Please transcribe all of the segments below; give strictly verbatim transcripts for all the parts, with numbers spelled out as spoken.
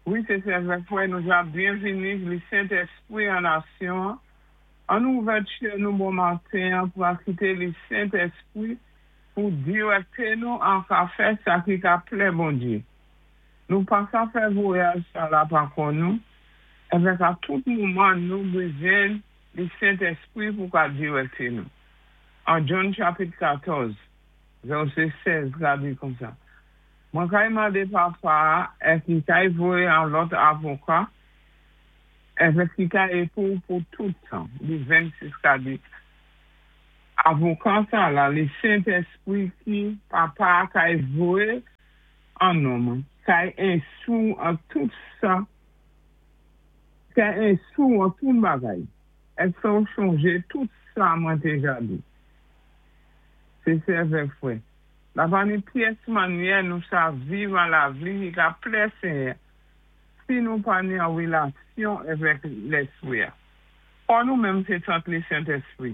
Wi, sé sè avèk frè nou ja byenvini li Sentèspwi an nasyon. An nou ouvè kè nou bon maten pou akité li Sentèspwi pou direkté nou an ka fè sa ki ka plè Bondyé. Nou pa ka fè vwayaj sa la pa kò nou, avèk a tout moman nou bezwen li Sentèspwi pou ka direkté nou. An John chapit katòz, vèsé sèz ka di konsa: "Mwen kay mandé Papa èk li kay voyé an lòt avoka, èvèk ki kay é pou pou tout tan." Li vennsis ka di: "Avoka sa la, li Sentèspwi ki Papa kay voyé an non mwen, kay enstwi ou an tout sa, kay enstwi ou an tout bagay, èk fè ou chonjé tout sa mwen té ja di." Sé sè avèk frè. La pa ni pyès mannyè nou sa viv an lavi ki ka plè Senyè si nou pa ni an wélasyon avèk Lèspwi. Kò nou menm sé tanp li Sentèspwi.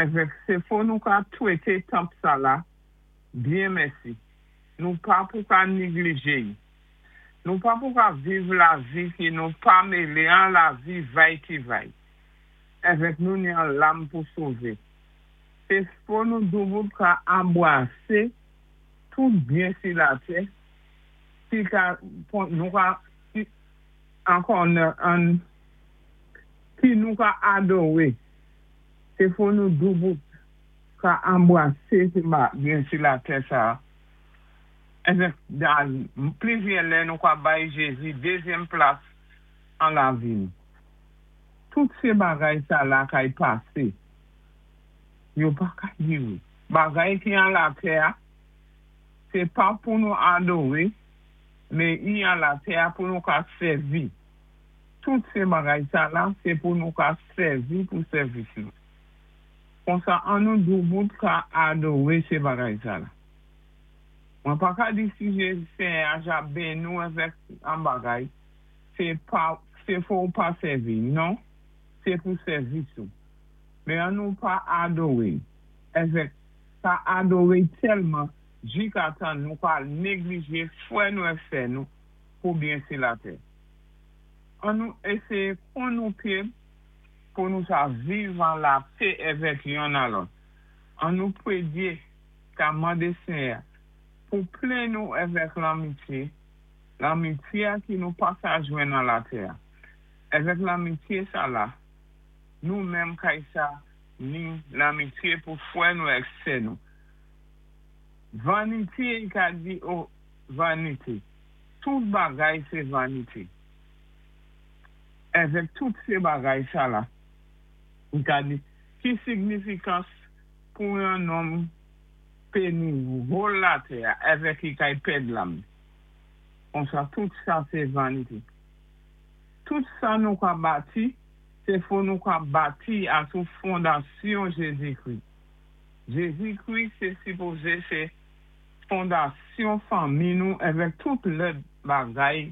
Avèk sé fò nou ka twété tanp sa la, byen mèsi. Nou pa pou ka néglijé. Nou pa pou ka viv lavi ki nou pa mélé an lavi vay ki vay. Avèk nou ni an lam pou sové. Sé fò nou doubout ka anbwasé tout byen si latè, ki ka, nou ka, ankò an, ki nou ka adoré. Sé fò nou doubout ka anbwasé byen si latè sa. Avèk dan plizyè lè nou ka bay Jézi dézyèm plas an lavi nou. Tout sé bagay sa la kay pasé. Yo pa ka diré. Bagay ki an latè, sé pa pou nou adoré, men i an latè pou nou ka sèvi. Tout sé bagay sa la, sé pou nou ka sèvi pou sèvis nou. Konsa an nou doubout ka adoré sé bagay sa la. Mwen pa ka di si Jézi Senyè a ja béni nou avèk an bagay, sé pa, sé fò ou pa sèvi. Non, sé pou sèvis ou. Men an nou pa adoré. Avèk pa adoré tèlman, jikatan nou pa néglijé frè nou èk sè nou pou byen si latè. An nou éséyé kon nou pyé pou nou sa viv an lapè avèk yonn a lòt. An nou pwédyé ka mandé Senyè pou plen nou avèk lanmityé, lanmityé ki nou pa sa jwenn nan latè. Avèk lanmityé sa la, nou menm kay sa ni lanmityé pou frè nou èk sè nou. Vanité ka di o vanité. Tout bagay sé vanité. Avèk tout sé bagay sa la, ka di, ki signifikans pou yon nonm pé ni whole latè avèk i kay pèd lam. Konsa tout sa sé vanité. Tout sa nou ka bati, sé fò nou ka bati asou fondasyon Jézi-Kri. Jézi-Kri sé sipozé sé fondasyon fanmi nou avèk tout lòt bagay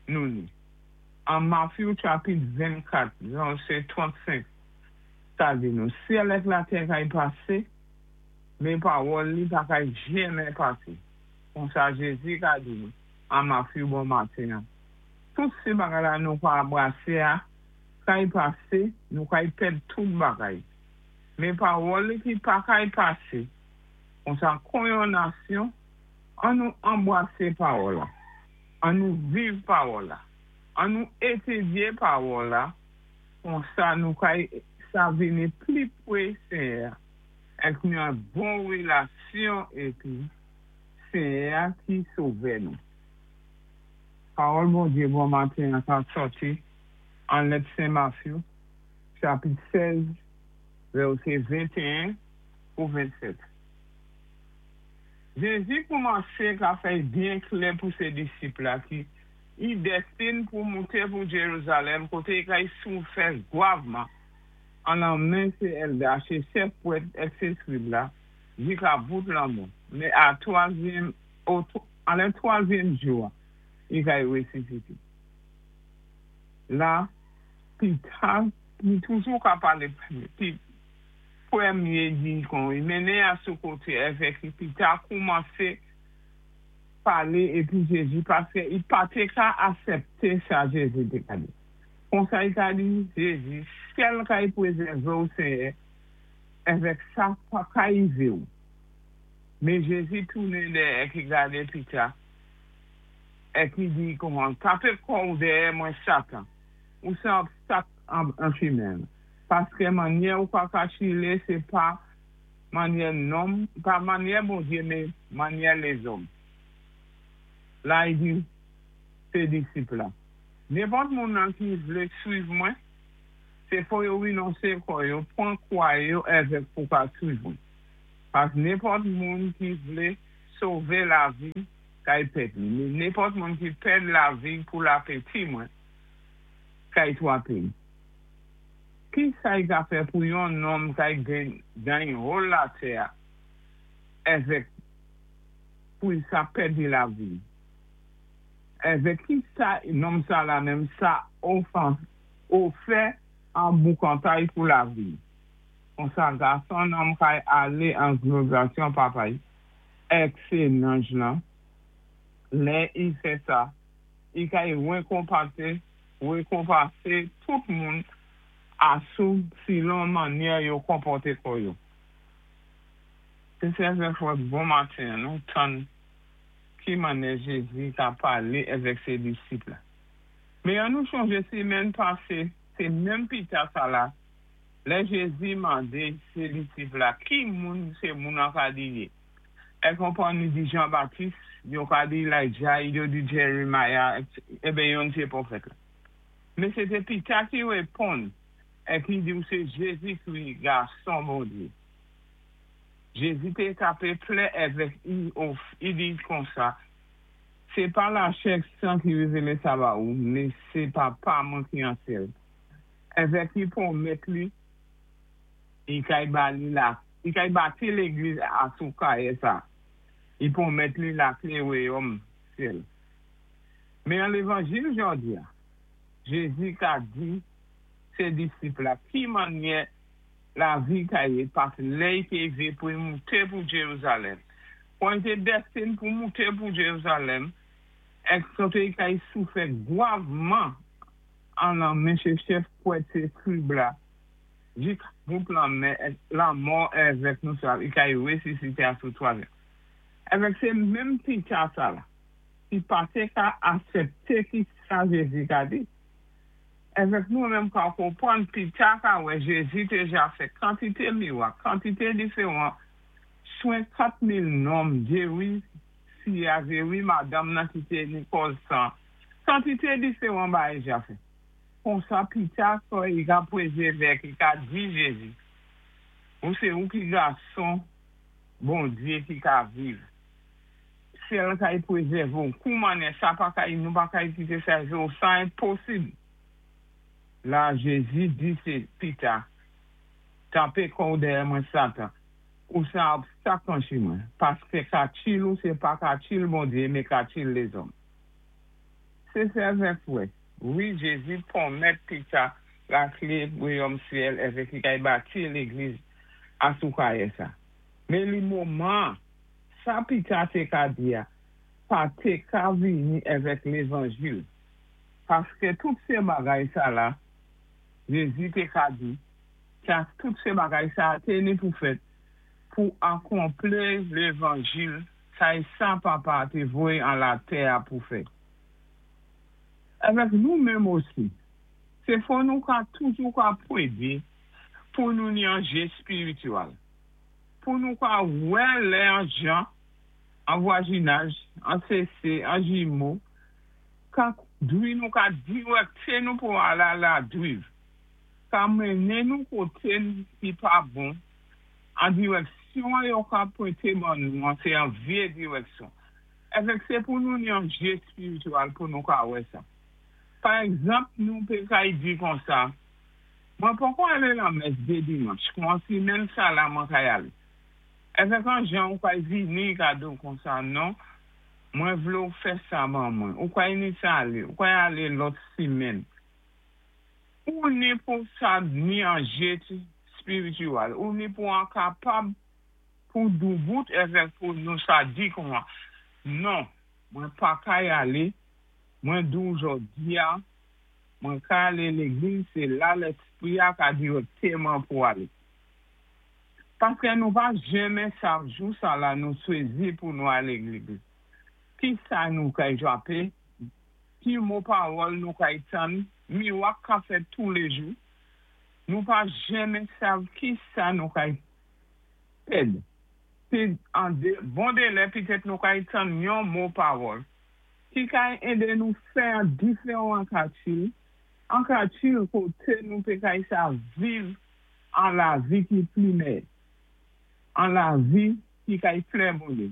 nou ni. An Matthew chapit vennkat, vèsé trannsenk, sa di nou: "Syèl èk latè kay pasé, men pawòl li pa kay jenmen pasé." Konsa Jézi ka di nou, an Matthew bon maten. Tout sé bagay la nou ka anbwasé a, kay pasé, nou kay pèd tout bagay. Men pawòl li ki pa kay pasé, konsa kon yon nasyon, an nou anbwasé pawòl la, an nou viv pawòl la, an nou étidyé pawòl la, konsa nou kay sa vini pli pwé Senyè, èk nou an bon wélasyon épi Senyè ki sové nou. Pawòl Bondyé bon maten an ka sòti an lèt Sen Matthew, chapit sèz, vèsé venteyen pou vennsèt. Jézi koumansé ka fè byen klè pou sé disip la ki i dèstine pou mouté pou Jérusalem koté i kay soufè gwavman an lan men sé èlda, sé chèf pwèt èk sé skrib la, jika bout lanmò. Men a twazyèm, an lè twazyèm jou, i kay wésisité. La, pita, li toujou ka palé pi pwémyé di kon, i mennen a sou koté avèk li, pita koumansé Palé épi Jézi paské i pa té ka asèpté sa Jézi té ka di. Konsa i ka di Jézi, syèl kay pwézèvé ou Séyè, èvèk sa pa ka yivé ou. Mé Jézi tounen dèyè ki gadé Pita, é ki di kouman, tapé kò ou dèyè mwen Satan, ou sé obstak an, an chimen. Paské mannyè ou ka kachilé, sé pa mannyè nonm, pa mannyè Bondyé, mé mannyè lézòm. La i di, sé disip la. Nenpòt moun nan ki vlé swiv mwen, sé fò yo rinonsé kò yo, pwan kwa yo èvèk pou ka swiv mwen. Paské nenpòt moun ki vlé sové lavi, kay pèd li. Mé nenpòt moun ki pèd lavi pou lapeti mwen, kay twapé. Ki sa i ka fè pou yon nonm kay genyen whole latè èvèk pou i sa pèdi lavi? Èvèk ki sa nonm sa la menm sa ofan, ofè an boukantay pou lavi? Konsa gason nonm kay alé an glorasyon papa èk sé nanj lan, lè i fè sa, i kay wékonpanté, wékonpansé tout moun asou silon mannyè yo konpòté kò yo. Sé sè fwa bon maten, nou tann ki mannyè Jézi ka palé èvèk sé disip la. Mé an nou chonjé simenn pasé, sé menm Pita sa la, lè Jézi mandé sé disip la, ki moun sé moun an ka di yé? É konpwann ni di Jean-Baptiste, yo ka di Elijah, yo di Jeremiah, ébé yon sé pwofèt la. Mé sé té Pita ki wéponn, é ki di ou sé Jézi-Kri, gason Bondyé. Jézi té tapé plè èvèk i, i di konsa, sé pa lachè san ki wévélé sa ba ou, mé sé papa mwen ki an syèl. Èvèk i pwomèt li, i kay ba li la, i kay bati légliz asou kayé sa. I pwomèt li laklé wayòm syèl. Mé an lévanjil jòdi a, Jézi ka di sé disip la, ki mannyè lavi ka yé, paské lè i té vé pou mouté pou Jérusalem. Kon té dèstine pou mouté pou Jérusalem, èk koté i kay soufè gwavman an lanmen sé chèf pwèt sé skrib la, jik bout lanmè, lanmò èvèk nou sa, i kay wésisité asou twazyèm. Èvèk sé menm Pita sa la, ki pa té ka asèpté ki sa Jézi ka di. Èvèk nou menm ka konpwann Pita ka wè Jézi déja fè kantité miwak, kantité diféwan, swen kat mil nonm, géwi fi a, géwi madanm nan ki té ni kòz san, kantité diféwan bagay ja fè. Konsa Pita so i ka pwézèvé ki ka di Jézi, ou sé ou ki gason Bondyé ki ka viv. Syèl kay pwézèvé ou, koumanè sa pa kay nou pa kay kité sa ou, sa enposib. La Jézi di sé Pita, tapé kò ou dèyè mwen Satan, ou sé obstak an chimen, paské kachil ou sé pa kachil Bondyé, mé kachil lézòm. Sé sèvè fwè, wi Jézi pwomèt Pita laklé wayòm syèl èvèk i kay bati légliz asou kayé sa. Mé li moman, sa Pita té ka di a, pa té ka vini èvèk lévanjil. Paské tout sé bagay sa la, Jézi té ka di, sa tout sé bagay sa té ni pou fèt, pou akonpli lévanjil, sa é sa papa té voyé an latè a pou fè. Avèk nou menm osi, sé fò nou ka toujou ka pwédé pou nou ni an jé espirityèl. Pou nou ka wè lè an jan, an vwazinaj, an sésé, an jimo, ka dwi nou ka diwèkté nou pou al a la driv. Ka mennen nou koté ki pa bon, an diwèksyon yo ka pwenté ban nou, an sé an vyé diwèksyon. Èvèk sé pou nou ni an jé espirityèl pou nou ka wè sa. Pa egzanp, nou pé kay di konsa, mwen poko alé lan mès dé dimanch, kon simenn sa la mwen kay alé. Èvèk an jan ou kay vini ka di ou konsa, non, mwen vlé ou fè sa ban mwen, ou kay ni sa alé, ou kay alé lòt simenn. Ou ni pou sa ni an jé espirityèl, ou ni pou an kapab pou doubout èvèk pou nou sa di kouman. Non, Mwen pa kay alé, mwen di ou jòdi-a, mwen ka alé légliz, sé la Léspri-a ka diwékté mwen pou alé. Paské nou pa jenmen sav jou sa la nou chwazi pou nou alé légliz. Ki sa nou kay jwapé, ki mo pawòl nou kay tann, miwak ka fèt toulé jou. Nou pa jenmen sav ki sa nou kay pèd. Pi an de, bon délè pitèt nou kay tann yon mo pawòl. Ki kay édé nou fè an diféwan katil, an katil koté nou pé kay sa viv an lavi ki pli mèyè. An lavi ki kay plè Bondyé.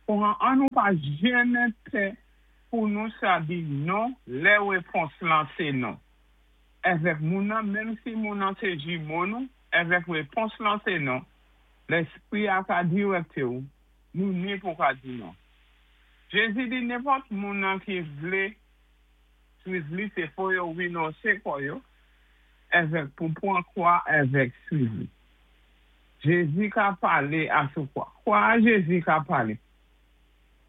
Pou an, an nou pa jenmen pè pou nou sa di non, lè wépons lan sé non. Avèk moun nan, menm si moun nan sé jimo nou, avèk wépons lan sé non, Léspri a ka diwékté ou, nou ni pou ka di non. Jézi di nenpòt moun nan ki vlé swiv li, sé fò yo winonsé kò yo, avèk pou pwan kwa avèk swiv li. Jézi ka palé asou kwa. Kwa Jézi ka palé?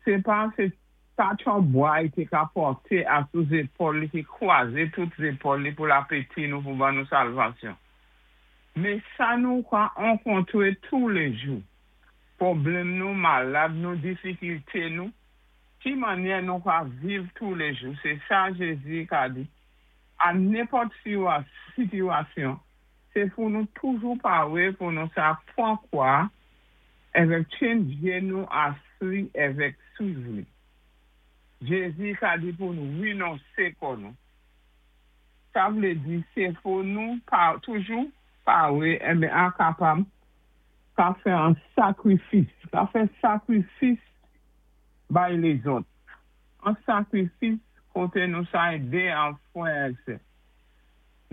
Sé pa sé pa yon bwa i té ka pòté asou zépòl li ki kwazé tout zépòl li pou lapéti nou pou ban nou salvasyon. Mé sa nou ka wankontwé toulé jou. Pwoblèm nou, malad nou, difikilté nou, ki mannyè nou ka viv toulé jou. Sé sa Jézi ka di. A nenpòt sitiyasyon, sé pou nou toujou pawé pou nou sa pwan kwa avèk tjenn nou asli avèk swiv li. Jézi ka di pou nou winonsé kò nou. Sa vlé di, sé pou nou pa, toujou pawé, enben an kapab ka fè an sakrifis, ka fè sakrifis bay lézòt. An sakrifis koté nou sa édé an frè ak sè.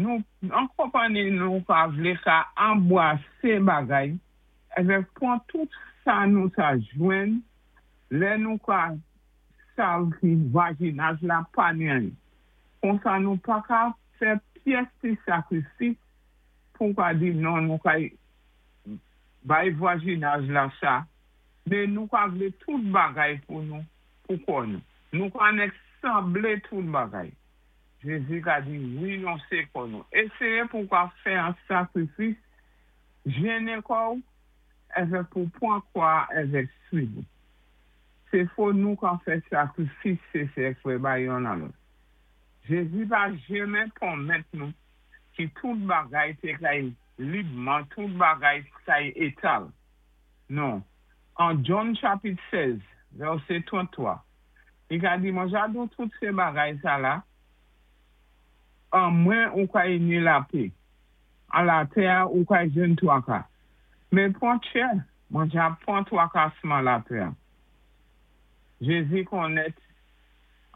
Nou, an konpanni nou ka vlé ka anbwasé bagay, avèk pwan tout sa nou sa jwenn, lè nou ka sav ki vwazinaj la pa ni anyen. Konsa nou pa ka fè pyès ti sakrifis pou ka di non nou ka bay vwazinaj la sa, men nou ka vlé tout bagay pou nou, pou kò nou. Nou ka nek sanblé tout bagay. Jézi ka di, winonsé kò nou. Éséyé pou ka fè an sakrifis, jennen kò ou, avèk pou pwan kwa avèk swiv. Sé fò nou ka fè sakrifis sé sè frè bay yon nan lòt. Jézi pa jenmen pwomèt nou ki tout bagay té kay libman, tout bagay kay étal. Non. An John chapit sèz, vèsé tranntwa, li ka di, mwen ja di ou tout sé bagay sa la, an mwen ou kay ni lapè, an latè ou kay jwenn twaka. Men pwan tchè, mwen ja pwan twakasman latè. Jézi konnèt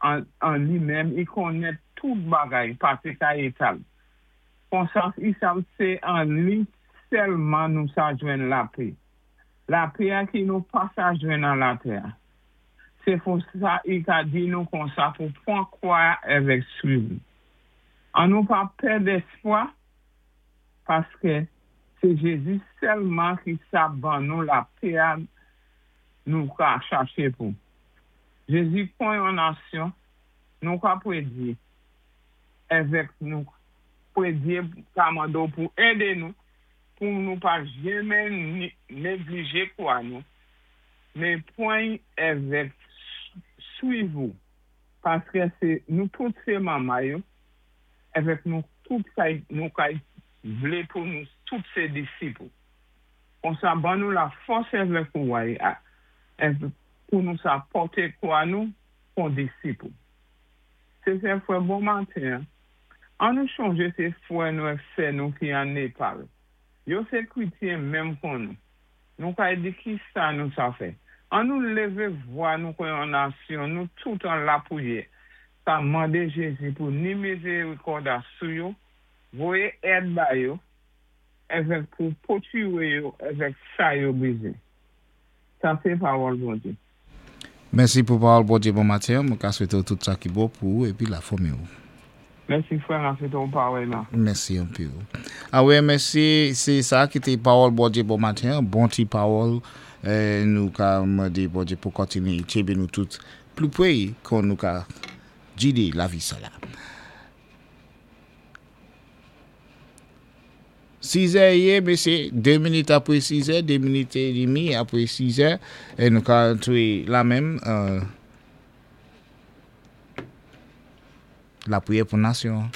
an, an li menm, i konnèt tout bagay pa té kay étal. Konsa, i sav sé an li sèlman nou sa jwenn lapè. Lapè a ki nou pa sa jwenn an latè. Sé pou sa i ka di nou konsa pou pwan kwa avèk swiv. An nou pa pèd éspwa, paské sé Jézi sèlman ki sa ban nou lapè a nou ka chaché pou. Jézi pwan yon nasyon, nou ka pwédyé, avèk nou pwédyé ka mando pou édé nou, pou nou pa jenmen neglijé kwa nou, men pwan avèk swiv ou, paské sé nou tout sé manman yo, avèk nou tout kay, nou kay vlé pou nou tout sé disip ou. Konsa ban nou lafòs avèk ou way, pou nou sa pòté kwa nou kon disip ou. Sé sè frè bon maten, an nou chonjé sé frè nou ak sè nou ki an Népal. Yo sé krétyen menm kon nou. Nou kay di ki sa nou sa fè. An nou lévé vwa nou kon yon nasyon, nou tout an lapwiyè. Sa mandé Jézi pou ni mizérikòd sou yo, voyé èd ba yo, avèk pou pwotiwé yo, avèk sa yo bézwen. Sa sé pawòl Bondyé. Mèsi pou pawòl Bondyé bon maten. Mwen ka swété tout sa ki bon pou ou épi lafanmi ou. Mèsi fwè, sé ton pawòl la. Mèsi anpil. A wè, mèsi, sé sa ki té pawòl Bondyé bon maten, bon ti pawòl, euh, nou ka mandé Bondyé pou kontiné tjenbé nou tout pli pwé kon nou ka gidé lavi sa la. Sizè yé, mésyé, dé minit apwé sizè, dé minit é demi apwé sizè, é nou ka antwé la menm, euh, lapriyè pou nasyon.